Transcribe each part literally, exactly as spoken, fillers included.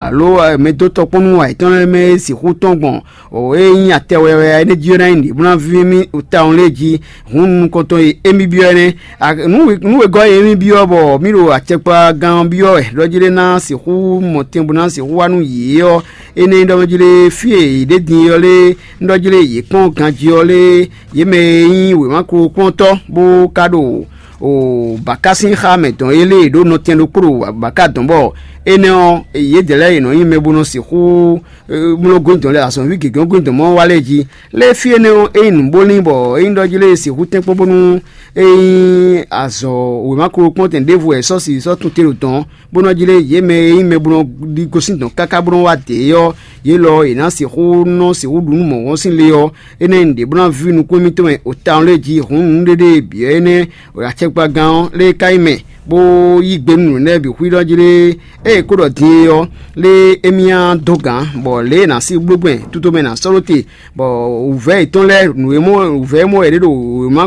alo mɛ dó tɔkpɔ́n nú ayǐtɔn lɛ́ɛ mɛ e sixú tɔ́n gbɔn o e nyí atɛ wɛwɛ énɛ́ jí ɔ́ ná nyí nǔɖé bó ná víví mì tawun lé jí. Hǔn nukɔntɔn e émí byɔ́ énɛ́. Nǔ e gɔ́ e émí byɔ́ bɔ mì ɖo acɛkpagán ɔ́ byɔ́ wɛ ɖɔ jí lé ná sixú mɔ tɛn bó ná sixú wá nú yě ɔ́, énɛ́ nyí ɖɔ jí lé fí e yě ɖe din ɔ́ lé, un ɖɔ jí lé yě kpɔ́n ganjí ɔ́ lé, yě mɛ e nyí wěma kplɔ́nkplɔ́ntɔ́ bó ka ɖo o bǎka sín xá mɛ dɔn é lée ɖó nɔtɛn ɖokpó ɖo bǎka dɔn bɔ énɛ́ ɔ́, yědɛɛ lɛ́ɛ yě nɔ nyí mɛ bó nɔ sixú mlɔ́ gwíndɔn lɛ́ɛ azɔ̌ví gěgé ɔ́ gwíndɔn mɔ wá lɛ́ɛ jí. Lé fí énɛ́ ɔ́, é nyí nǔbóní bɔ é nyí ɖɔ jí lé sixú tɛ́nkpɔ́n bónú é nyí azɔ̌ wěma kplɔ́nkplɔ́ntɛn ɖěvo wɛ è sɔ́ si sɔ́ tunte ɖo dɔ̌n, bó nɔ́ jlé yě mɛ e nyí mɛ bó nɔ́ ɖi gosín dɔ̌n káká bó nɔ́ wá dě é ɔ́, yě lɔ è nǎ sixú nɔ́ sixú ɖu nú mɔ̌hɔn sín le ɔ́, énɛ́ nyí nǔɖé bó ná víví nukún émítɔn mɛ o tawun lé jí hǔn nǔɖéɖé bǐ ɔ́ énɛ́, acɛkpagán ɔ́ lé ka nyí mɛ, bó yí gbe nú nǔ lɛ́ɛ bǐ xwíɖɔ jí lé. Ée è kó ɖɔ din é ɔ́, lé émí ná dó gǎn, bɔ lě e è nǎ sí bló gbɛn tutomɛ ná sɔ́ ɖó te, bɔ wǔvɛ́ yětɔn lɛ́ɛ nǔ e mɔ wǔvɛ́ e mɔ wɛ è ɖe ɖo wěma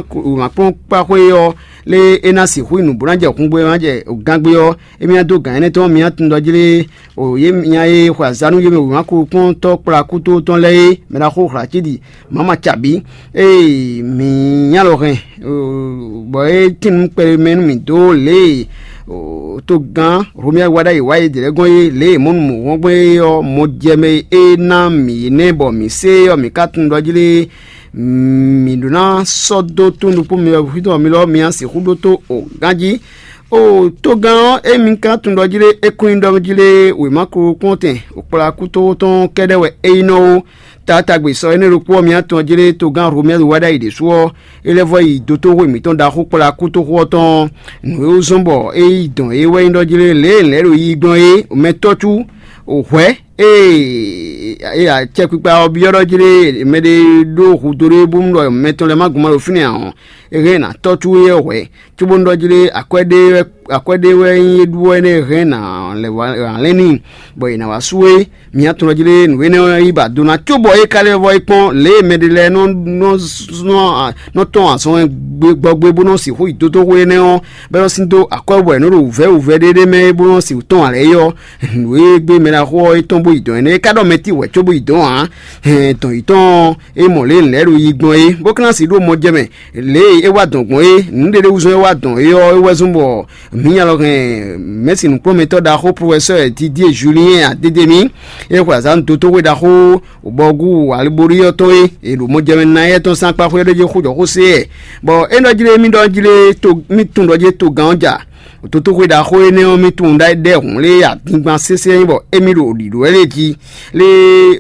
kplɔ́nkpáxwé ɔ́, lé é ná sixú nyí nǔ bó ná jɛ hǔngbó e ná jɛ gángbé ɔ́, émí ná dó gǎn énɛ́ tɔn, mi ná tunwun ɖɔ jí lé o yě nya e xwe azǎn nú yě mɛ wěma kplɔ́nkpɔ́ntɔ́ kplá kútótɔn lɛ́ɛ é, mɛ ɖaxó Hlacíɖi Mama Cabǐ, ée mǐ nya lɔ hɛn, bɔ é tín nǔ kpɛɖé mɛ nú mǐ dó lě e togán Romia wa ɖ'ayǐ wá é ɖě lɛ́ɛ gɔ́n é, lě e mɔ̌ nu mɔ̌ hɔn gbɔn é ɔ́, mɔ jɛ mɛ e é ná mǐ é nɛ́ bɔ mǐ sé é ɔ́, mǐ ka tunwun ɖɔ jí lé mǐ ɖó ná sɔ́ dó tún ɖokpó mi wɛ xwítɔ́ mi lɔ mi ná sixú ɖótó o ganjí. O togán ɔ́, émi ka tunwun ɖɔ jí lé é kún nyí ɖɔ jí lé wěma kplɔ́nkplɔ́ntɛn kplá kútótɔn kɛ́ɖɛ́ wɛ é nyí nɔ ó. Taatagbe sɔ énɛ́ ɖokpó ɔ́, mi ná tunwun jí lé togán Romɛ́lu wá ɖ'ayǐ ɖésú ɔ́, é lɛ́ vɔ́ yi dotóxwé mǐtɔn ɖaxó kplá kútóxó ɔ́ tɔn. Nǔ e wú zɔ́n bɔ é yi dɔn é wɛ nyí ɖɔ jí lé lě e lɛ̌ ɖo yiyi gbɔn é, mɛtɔ́ hwɛ̌ e e acɛkpikpa ɔ́ byɔ́ ɖɔ jí lé mɛɖé ɖó hudó ɖé bónú ɖɔ mɛ tɔn lɛ́ɛ ma gbɔn ma ɖo fínɛ́ ǎ ɔ́, é hɛn ná tɔ́ cú éyɛ́ hwɛ̌, cóbónú ɖɔ jí lé akwɛ́ ɖé wɛ akwɛ́ ɖé wɛ nyí é ɖú ɔ́ énɛ́ hɛn ná lɛ́ wá lɛ́n n'i, bɔ è nǎ wá sú é. Mǐ atɔn jí lé nǔ énɛ́ ɔ́ yí ba do ná cóbɔ é ka lɛ́ vɔ é kpɔ́n lě e mɛɖé lɛ́ɛ nɔ nɔ nɔ tɔn azɔn gbɔgbé bó nɔ sixú yi dódóxwé énɛ́ ɔ́, bɔ é nɔ sín dó akwɛ́ bɔ è nɔ ɖo wǔvɛ́ wǔvɛ́ ɖé ɖé mɛ é bó nɔ sixú tɔn ǎ lɛ́ɛ é ɔ́, nǔ e gbé mɛ ɖaxó ɔ́ é tɔn bó yi dɔ̌n énɛ́ é ka ɖɔ mɛ tí wɛ̌ có bó yi dɔ̌n ǎ. Hɛn dɔn yětɔn ɔ́, é mɔ lě e nǔ lɛ́ɛ ɖo yi gbɔn é, bó ka ná sixú ɖó mɔ jɛ mɛ. Lě e é wá dɔn gbɔn é, nǔɖéɖé wúzɔ́n é wá dɔn é ɔ́, é wɛ zɔ́n bɔ mǐ nya lɔ hɛn mɛ̌si nǔkplɔ́nmɛtɔ́ ɖaxó Profɛsɔ́ɔ Didier Julien Adedemi, é xwe azǎn dó tóxwé ɖaxó bɔgú Alibori ɔ́ tɔn é, è ɖo mɔ jɛ mɛ ná éyɛ́ tɔn sín akpá xwé ɖé jí xó jɔ xó sé ɛ. Bɔ é ɖɔ jí lé mì ɖɔ jí lé mì tunwun ɖɔ jí togán ɔ́ ja. Dotóxwé ɖaxó énɛ́ ɔ́, mì tunwun ɖɔ é ɖɛ́ hǔn lé adingban sésé nyí bɔ émí ɖo ɖiɖǒ wɛ lé jí. Lé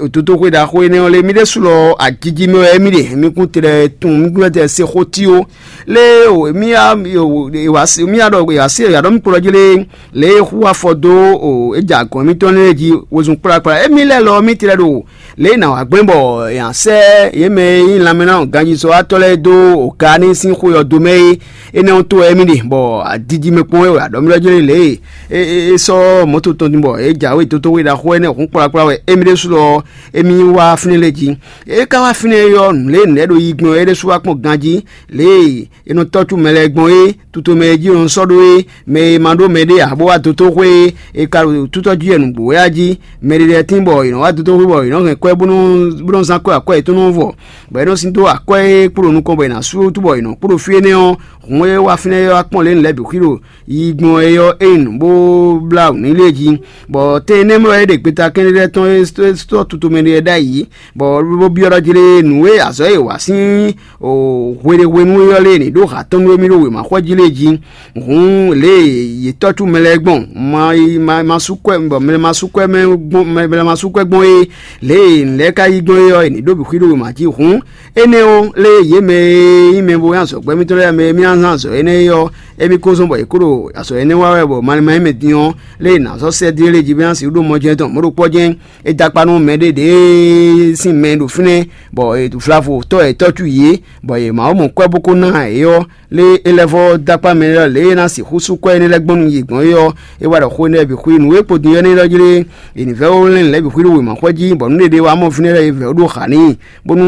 dotóxwé ɖaxó énɛ́ ɔ́ lé mì ɖésú lɔ ajiji mɛ wɛ émí ɖe, mì kún tlɛ tunwun mì kún tlɛ se xó tí ó. Lé o mì ya mì ya ɖɔ ya se ya ɖɔ mì kplɔ́ jí lé lě e xú afɔ dó o é ja gɔ̌n émítɔn lɛ́ɛ jí wezun kplakpla émí lɛ́ɛ lɔ mì tlɛ ɖo lě e nǎ wá gblɛ́n bɔ è nǎ sɛ́ yě mɛ e nyí lanmɛnánɔ ganjízɔ́watɔ́ lɛ́ɛ dó o Kaa ní sín xwe ɔ́ dó mɛ é. Énɛ́ ɔ́ tó wɛ émí ɖe, bɔ adiji mɛ kpɔ́n wɛ wɛ aɖɔ̌mlɔ́jlɛ́ lě e é sɔ́ mɔ̌to tɔn din bɔ é jǎwe dótóxwé ɖaxó énɛ́ hǔn kplakpla wɛ émí ɖésú lɔ émí wá fínɛ́ lɛ́ɛ jí. É ka wá fínɛ́ é ɔ́, nǔ lě nɛ̌ ɖo yi gbɔn é ɖésú wá kpɔ́n ganjí, lě e è nɔ tɔ́ cú mɛ lɛ́ɛ gbɔn é, tutomɛ e jí è nɔ sɔ́ ɖó é, mɛ e ma ɖó mɛɖé ǎ bó wá dótóxwé é, è ka ɖo tútɔ́ jí wɛ nǔgbó wɛ a jí. Mɛɖé lɛ́ɛ tín bɔ è nɔ wá dótóxwé bɔ è nɔ hɛn kwɛ́ bó nɔ́ bó nɔ́ zán kwɛ́ akwɛ́ yětɔn nɔ́ vɔ, bɔ é nɔ sín dó akwɛ́ e kpo ɖo nukɔn bɔ è nǎ sú wútu bɔ è nɔ kpo ɖo fí énɛ́ ɔ́, hǔn e wá fínɛ́ é ɔ́ wá kpɔ́n lě nǔ lɛ́ɛ bǐ xwí ɖo yi gbɔn é ɔ́, é nyí nǔ bó blá nǔ n'i lé jí. Bɔ tɛn énɛ́ mɛ wɛ é ɖe gbeta kɛ́nɖé lɛ́ɛ tɔn é sɔ́ tutomɛ lɛ́ɛ ɖ'ayǐ, bɔ bó byɔ́ ɖɔ jí lé nǔ e azɔ̌ e è wa sín hweɖéhwenu é ɔ́ lé ní ɖó ha tɔn nú émí ɖo wěmaxɔ́ jí lé jí. Hǔn lě e yě tɔ́ cú mɛ lɛ́ɛ gbɔn ma yi ma ma sú kwɛ́ bɔ mɛ ma sú kwɛ́ mɛ gbɔn mɛ mɛ ma sú kwɛ́ gbɔn é, lě e nǔ lɛ́ɛ ka yí gbɔn é ɔ́, è ní ɖó bǐ xwí ɖo wěma jí. Hǔn énɛ́ ɔ́, lě e yě mɛ e nyí mɛ bo nyí azɔ̌gbɛ́ mitɔn lɛ́ɛ mɛ e mì ná zán azɔ̌ énɛ́ é ɔ́, émí ko zɔ́n bɔ yě kó ɖo azɔ̌ énɛ́ wa wɛ bɔ malɛ ma nyí mɛ din ɔ́, lě e è nǎ sɔ́ sɛ́ dín é lé jí bó ná sixú ɖó mɔjɛ́n tɔn mɔ̌ ɖokpɔ́ jɛ́n. É dó akpá nú mɛɖé ɖě sín mɛ e ɖo fínɛ́, bɔ vlavo tɔ́ e tɔ́ cú yě, bɔ yě ma wá mɔ kwɛ́ bó kó ná ǎ é ɔ́, lé é lɛ́ vɔ́ dó akpá mɛ lɛ́ɛ lě e é ná sixú sú kwɛ́ énɛ́ lɛ́ɛ gbɔn nú yě gbɔn é ɔ́, é wá ɖɔ xó énɛ́ lɛ́ɛ bǐ xwí nǔ e kpodun ɔ́ n'i ɖɔ jí lé è nǐ vɛ́ ó lɛ́n nǔ lɛ́ɛ bǐ xwí ɖo wěma xwɛ jí, bɔ nǔ ɖé ɖé wá mɔ fínɛ́ lɛ́ɛ è vɛ̌ ó ɖó xǎ n'i, bónú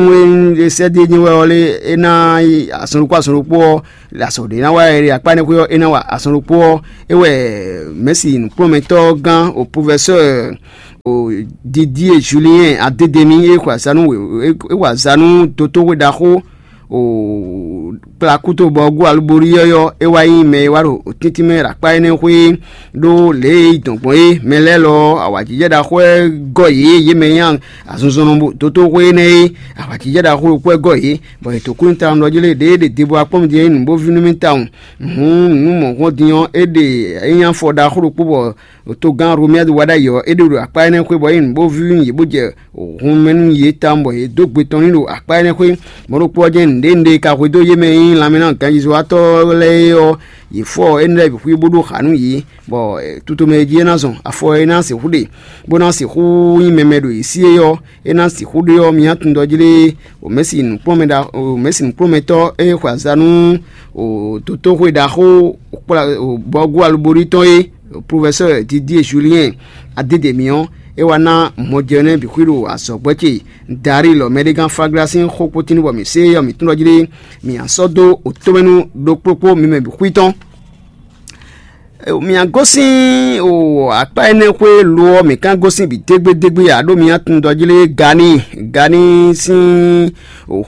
é sɛ́ dó é nyí wɛ ɔ́ lé é ná yi azɔn ɖokpó azɔn ɖokpó ɔ́, azɔ̌ ɖé ná wa é ɖe akpá énɛ́ xwé ɔ́, é ná wa azɔn ɖokpó ɔ́, é wɛ mɛ̌si nǔkplɔ́nmɛtɔ́ gán o profɛsɛ́ɛ Didier Julien Adedemi, é xwe azǎn nú wě- é xwe azǎn nú dotóxwé ɖaxó kplakúto bɔ gú alubórí yɔ́yɔ́, é wá nyí mɛ e wá ɖo tíntín mɛ ɖo akpá énɛ́ xwé ɖó lě e é yi dɔn gbɔn é. Mɛ lɛ́ɛ lɔ, awǎjijɛ ɖaxó wɛ gɔ́ yě, yě mɛ nyí azinzɔnnɔ dotóxwé énɛ́ é. Awǎjijɛ ɖaxó ɖokpó wɛ gɔ́ yě, bɔ yě dǒ kú nyi tawun ɖɔ jí lé ɖěe ɖe debu akpɔ́mɛ din é nyí nǔ bó ví nú mì tawun. Hǔn nǔ mɔ̌hunkɔ́n din ɔ́, é ɖe é nyí afɔ ɖaxó ɖokpó bɔ togán Romuald wá ɖ'ayǐ ɔ́, é ɖe ɖo akpá énɛ́ xwé bɔ é nyí nǔ bó ví nú yě bó jɛ hun mɛ nú yě tawun bɔ yě dó gbe tɔn n'i ɖo akpá énɛ́ xwé. Mɔ̌ ɖokpó ɔ́ jɛ́n nǔɖé nǔɖé e ka hwedó yé mɛ e nyí lanmɛnánɔ ganjízɔ́watɔ́ lɛ́ɛ é ɔ́, yě fɔ énɛ́ lɛ́ɛ bǐ xwí bó ɖó xǎ nú yě, bɔ tutomɛ e jí é ná zɔn, afɔ e é ná sixú ɖe, bó ná sixú nyí mɛmɛ ɖo yě sí é ɔ́, é ná sixú ɖe ɔ́, mi ná tunwun ɖɔ jlé wǒmɛ́si nǔkplɔ́nmɛ ɖa wǒmɛ́si nǔkplɔ́nmɛtɔ́ e xwe azǎn nú dotóxwé ɖaxó bɔ́gú alubórí tɔn é, professeur Didier Julien Adedemi ɔ́, é wá ná mɔjɛnɛ́ bǐ xwí ɖo azɔ̌gbɛ́ ce Darilɔ mɛɖégán Fagla sín xó kpótín bɔ mǐ sé ɔ́, mǐ tunwun ɖɔ jlé mǐ ná sɔ́ dó otɔ́mɛnu ɖokpókpó mi mɛ bǐ xwí tɔn. Mǐ gosín akpá énɛ́ xwé lo ɔ́, mǐ ka gosín bǐ dégbédégbé ǎ, ɖó mǐ tunwun ɖɔ jlé Gani Gani sín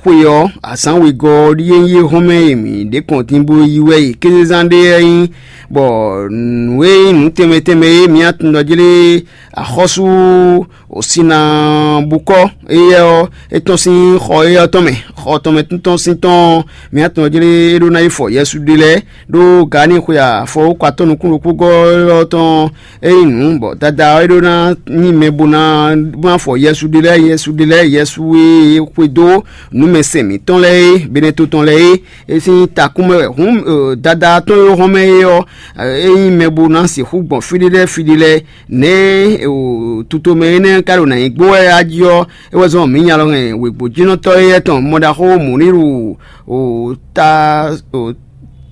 xwe ɔ́, azǎn wegɔ́ ɔ́ ɖíe nyí é hɔn mɛ e mǐ ɖe kɔn din bó yí wɛ e kézezán ɖé wɛ nyí, bɔ nǔ e nyí nǔ tɛnmɛ tɛnmɛ e mǐ tunwun ɖɔ jlé axɔ́sú Sinabukɔ́ éyɛ́ ɔ́, é tɔ́n sín xɔ éyɛ́ ɔ́ tɔn mɛ. Xɔ tɔn mɛ tɔn sín tɔn ɔ́, mǐ tunwun ɖɔ jlé é ɖó ná yi fɔ Yɛsu ɖe lɛ́ɛ, ɖó Gani xwe afɔwúkɔ atɔ́ nukún ɖokpó gɔ́ ɔ́ tɔn é nyí nǔ, bɔ Dadá ɔ́ é ɖó ná nyí mɛ bó ná bó ná fɔ Yɛsu ɖe lɛ́ɛ, Yɛsu ɖe lɛ́ɛ, Yɛsu e xwedó nǔmɛsɛn mǐtɔn lɛ́ɛ é, Beneto tɔn lɛ́ɛ é, é sín takún mɛ wɛ. Hǔn Dadá tɔn e hɔn mɛ é ɔ́, é nyí mɛ bó ná sixú gbɔn fí ɖé lɛ́ɛ fí ɖé lɛ́ɛ. Nɛ̌ tutomɛ énɛ́ ka ɖo nǎ nyi gbó wɛ a jí ɔ́, é wɛ zɔ́n mǐ nya lɔ hɛn wěgbójínɔtɔ́ éyɛ́ tɔn mɔ ɖaxó Mǔníru ta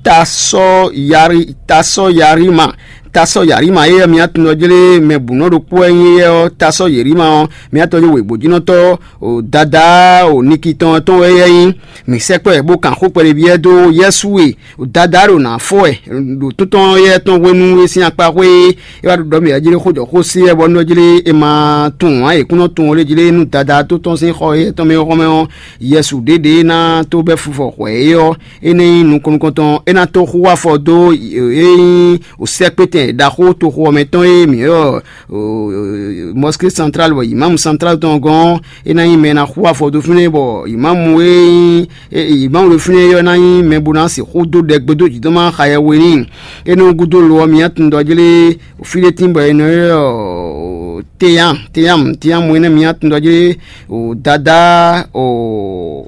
tasɔ́ yari tasɔ́ yarima tasɔ́ yarima éyɛ́ mǐ tunwun ɔ́ jlé mɛ bǔnɔ ɖokpó wɛ nyí éyɛ́ ɔ́, tasɔ́ yerima ɔ́, mǐ tunwun ɔ́ jlé wěgbójínɔtɔ́ Dadá Niki tɔn tɔn wɛ éyɛ́ nyí. Mǐ sɛkpɔ́ ɛ bó kan xó kpɛɖébyɛ́ dó Yɛ́su e Dadá ɖo nǎ fɔ wɛ ɖo tɔ́ntɔn éyɛ́ tɔn hwenu e sín akpa xwé é wá ɖo ɖɔ mǐ wɛ jlé xó jɔ xó sí wɛ bɔ nɔ jlé è ma tunwun ǎ, è kún nɔ tunwun lé jlé nú Dadá tó tɔn sín xɔ éyɛ́ tɔn mɛ ɔ́ xɔmɛ ɔ́, Yɛsu ɖěɖě ná tó bɛ́ fufɔ hwɛ é ɔ́, é ná nyí nukɔn nukɔntɔn, é ná tó xú afɔ dó é nyí sɛ́kpétɛn ɖaxó toxo ɔ́ mɛ tɔn e mǐ ylɔ́ Mɔsíké Santrál bɔ Imámu Santrál tɔn gɔ́n ɔ́, é ná nyí mɛ e ná xú afɔ dó fínɛ́ bɔ Imámu e nyí Mawu ɖo fínɛ́ ɔ́ ná nyí mɛ bó ná sixú dó ɖɛ gbedó jǐdɔ́má xa yɛhwe n'i. Énɛ́ ɔ́ gúdo lo ɔ́, mi ná tunwun ɖɔ jlé fí ɖé tín bɔ è nɔ ylɔ́ teyán teyán teyán mu énɛ́, mi ná tunwun ɖɔ jlé Dadá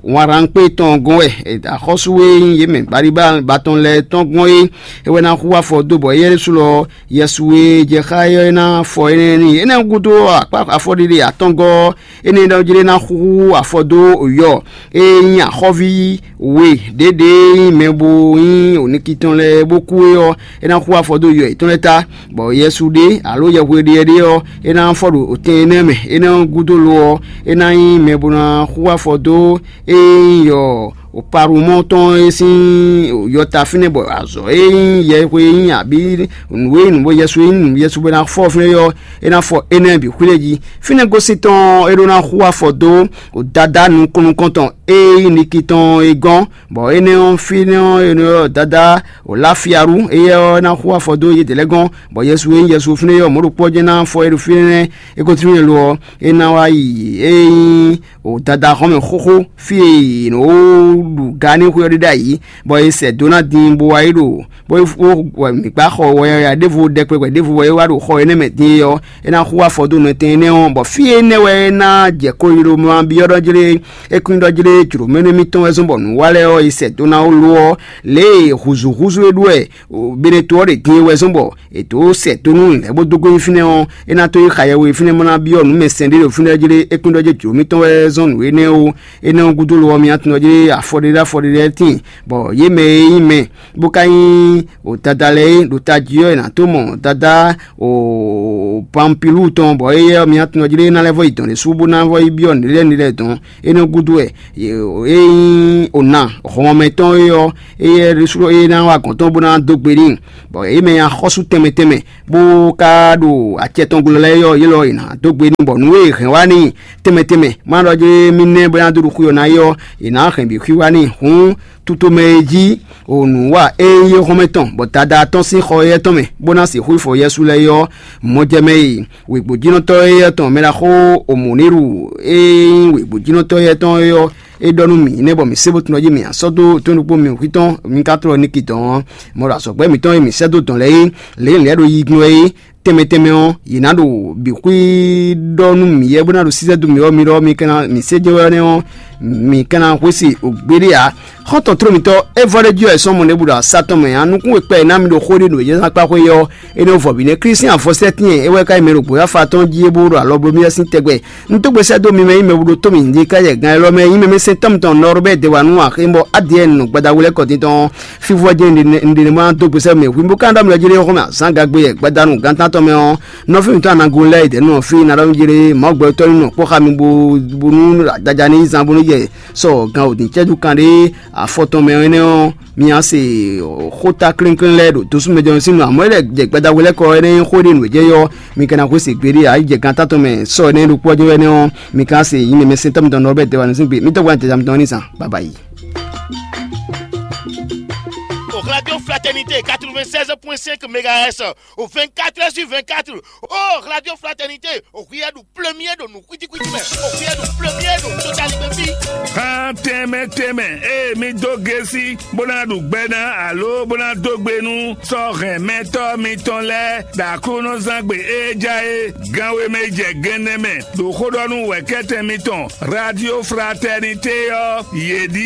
wǎnrankpé tɔn gɔ́n wɛ, axɔ́sú e nyí yě mɛ baɖiba tɔn lɛ́ɛ tɔn gɔ́n é, é wɛ ná xú afɔ dó bɔ éyɛ́ ɖésú lɔ Yɛsu e jɛ xá é ɔ́, é ná fɔ énɛ́ n'i. Énɛ́ ɔ́ gúdo akpá afɔɖiɖi atɔngɔ́ ɔ́, énɛ́ ɖɔ jlé ná xúxú afɔ dó yɔ e nyí axɔ́ví we ɖěɖě e nyí mɛ bo nyí oniki tɔn lɛ́ɛ bó kú é ɔ́, é ná xú afɔ dó yɔ yětɔn lɛ́ɛ ta, bɔ Yɛsu ɖe alo yɛhweɖéɛ́ ɖé ɔ́, é ná fɔ ɖo tɛn énɛ́ mɛ. Énɛ́ ɔ́ gúdo lo ɔ́, é ná nyí mɛ bo ná xú afɔ dó e nyí yɔ Palumɔ́ tɔn e sín yɔta fínɛ́ bɔ azɔ̌ e nyí yɛhwe e nyí abǐ nǔ e nyí nǔ bɔ Yɛsu e nyí nǔ Yɛsu bɔ é ná fɔ fínɛ́ ɔ́, é ná fɔ énɛ́ bǐ xwlé jí. Fínɛ́ gosín tɔn é ɖó ná xú afɔ dó Dadá nukɔn nukɔntɔn e nyí niki tɔn é gɔ́n, bɔ énɛ́ ɔ́ fínɛ́ ɔ́ è nɔ ylɔ́ Dadá Lafialu, éyɛ́ ɔ́ ná xú afɔ dó yědɛɛ lɛ́ɛ gɔ́n, bɔ Yɛsu e nyí Yɛsu fínɛ́ ɔ́, mɔ̌ ɖokpó ɔ́ jɛ́n ná fɔ é ɖo fínɛ́, é gosín fínɛ́ lo ɔ́, é ná wá yi e nyí Dadá xɔ́mɛ xóxó fí e è nɔ ɖu ga n'i xwé ɔ́ ɖe ɖ'ayǐ, bɔ è sɛ dó ná din bó wá yi ɖo bó wɔ mǐ gbá xɔ wɔyɔyɔ ɖěvo ɖɛkpɛ ɖěvo wɛ é wá ɖo xɔ énɛ́ mɛ din é ɔ́, é ná xú afɔ dó nɔtɛn énɛ́ ɔ́, bɔ fí énɛ́ wɛ é ná jɛ koyilo ma byɔ́ ɖɔ jlé é kún ɖɔ jlé jlǒmɛnú émítɔn wɛ zɔ́n bɔ nǔ wa lɛ́ɛ ɔ́, è sɛ dó ná ó lo ɔ́, lě e hǔzúhúzú e ɖó wɛ Beneto ɔ́ ɖe din é wɛ zɔ́n bɔ è dǒ sɛ dó nú lɛ̌ bó dó gɔ́ nyi fínɛ́ ɔ́, é ná tó yi xa yɛhwe fínɛ́ bó ná byɔ́ nǔ mɛ sɛn ɖé ɖo fínɛ́ jlé é kún ɖɔ jlé jǒ mitɔn wɛ zɔ́n nǔ énɛ́ ó. Énɛ́ ɔ́ gúdo lo ɔ́, mi ná tunwun ɖɔ jlé afɔ afɔɖéɖé afɔɖéɖé tíin, bɔ yě mɛ e nyí mɛ bó ka nyí o dada lɛ́ɛ é ɖo tají ɔ́, è nǎ tó mɔ dada o Pampilú tɔn, bɔ éyɛ́ ɔ́, miatɔn jí lé ná lɛ́ vɔ yi dɔn ɖé sú bó ná vɔ yi byɔ́ nǔɖé lɛ́ɛ nǔɖé lɛ́ɛ dɔn. Énɛ́ gúdo wɛ ényí o ná hɔnmɛ tɔn é ɔ́, éyɛ́ ɖésú é ná wa gɔ̌n tɔn bó ná dó gbe n'i, bɔ é mɛ nyi axɔ́sú tɛnmɛ tɛnmɛ, bó ka ɖo acɛ tɔn glɔ́ lɛ́ɛ ɔ́, yě lɔ è nǎ dó gbe n'i, bɔ nǔ e è hɛn wá n'i tɛnmɛ tɛnmɛ, má ɖɔ jí mì nɛ́ bó ná dó ɖo xwé ɔ́ ná é ɔ́, è nǎ hɛn bǐ xwí wá n'i. Hǔn tutomɛ e jí o nǔ wa e nyí éhɔ́nmɛ tɔn, bɔ dada tɔn sín xɔ éyɛ́ tɔn mɛ, bó ná sixú fɔ Yɛsu lɛ́ɛ é ɔ́, mɔjɛmɛ e wěgbójínɔtɔ́ éyɛ́ tɔn mɛ ɖaxó Omoniru e nyí wěgbójínɔtɔ́ éyɛ́ tɔn é ɔ́, é ɖɔ nú mì nɛ́ bɔ mǐ sé bó tunɔ jí mǐ asɔ́ dó tó ɖokpó mì hwí tɔn mi ka tlɔ ní ki dɔn ɔ́, mɔ ɖo azɔ̌gbɛ́ mǐtɔn e mǐ sɛ́ dó dɔn lɛ́ɛ é, lě e lɛ̌ ɖo yi glɔ́ é tɛnmɛ tɛnmɛ ɔ́, yě ná ɖo bǐ xwí ɖɔ nú mǐ yɛ bó ná ɖo sísɛ́ dó mǐ ɔ́, mi ɖɔ mi ka ná mǐ sé jɛ́n wɛ nɛ́ ɔ́, mǐ ka ná hwesí ògbéɖé ǎ. Xɔ́ntɔn tló mitɔ́, é vɔ ɖé jí wɛ sɔ́ mɔ ɖěbǔ ɖo asá tɔn mɛ ǎ. Nukún e kpɛ e ná mi ɖo xó ɖé ɖo yɛ́zán kpá xwé ɔ́, énɛ́ vɔ vǐ nɛ́ Klísián vɔsɛ́tín e é wɛ ka nyí mɛ ɖo gbǒ afá tɔn jí é bó ɖo alɔ bló mì sín tɛgbɛ. Un dó gbe sɛ́ dó mi mɛ nyí mɛ ɖo tó mǐ ɖi káyɛ gán élɔ́ mɛ nyí mɛ mɛ sɛn tɔn mitɔn Nɔrbɛ́ Dewanu axé bɔ Adiyɛn nɔ gbadawlɛ́kɔ din tɔn. Fí vɔ jɛ́n un ɖe ne ma dó gbe sɛ́ mɛ hwi bó ka ɖɔ mi lɔ jí ɖé xɔmɛ azán gagbe yɛ gbadanu gantán tɔn mɛ ɔ́, nɔví mǐtɔn anago lɛ́ɛ dɛ̌ nɔ fí ná ɖɔ mi jí ɖé Mawu gbɛtɔ́ ní nɔ kpɔ́ xá mi bó bónú daja ní zán bónú yɛ sɔ gan òdì cɛ́jú kan ɖé afɔ tɔn mɛ énɛ́ ɔ́, mi á se xóta klínkín lɛ́ɛ ɖo dosúmɛjɔnɔ sín nɔ, amɔ̌ é lɛ́ jɛ gbadawlɛ́kɔ énɛ́ nyí xó ɖé nǔ e jɛ yɔ mi ka ná xwé se gbeɖé ǎ, yi jɛ gan tátɔn mɛ sɔ énɛ́ ɖokpó ɔ́ jɛ wɛ nɛ́ ɔ́, mi ka se yi mɛ mɛ sɛntɔ́ mitɔn nɔ bɛ dɛwa nɔ sín gbe. Mi tɔgba tɛja mitɔn ní zan. Baba yi. Au Radio Fraternité quatre-vingt-seize point cinq mégahertz, au vingt-quatre heures sur vingt-quatre. Oh, Radio Fraternité, au Riyadou, premier de nous, kwiti kwiti mɛ, au Riyadou, premier de nous, totalité vie. Xan tɛnmɛ tɛnmɛ, eye mi dó gesi bó ná ɖu gbɛ ná alo bó ná dó gbe nú sɔ́ hɛn mɛtɔ́ mitɔn lɛ́ɛ ɖo Aklúnɔzán gbe e ja é gánwé mɛ jɛ gɛnɛ mɛ ɖo xó ɖɔ nú wɛ̌kɛ́tɛn mitɔn Radio Fraternité ɔ́, yě ɖíe.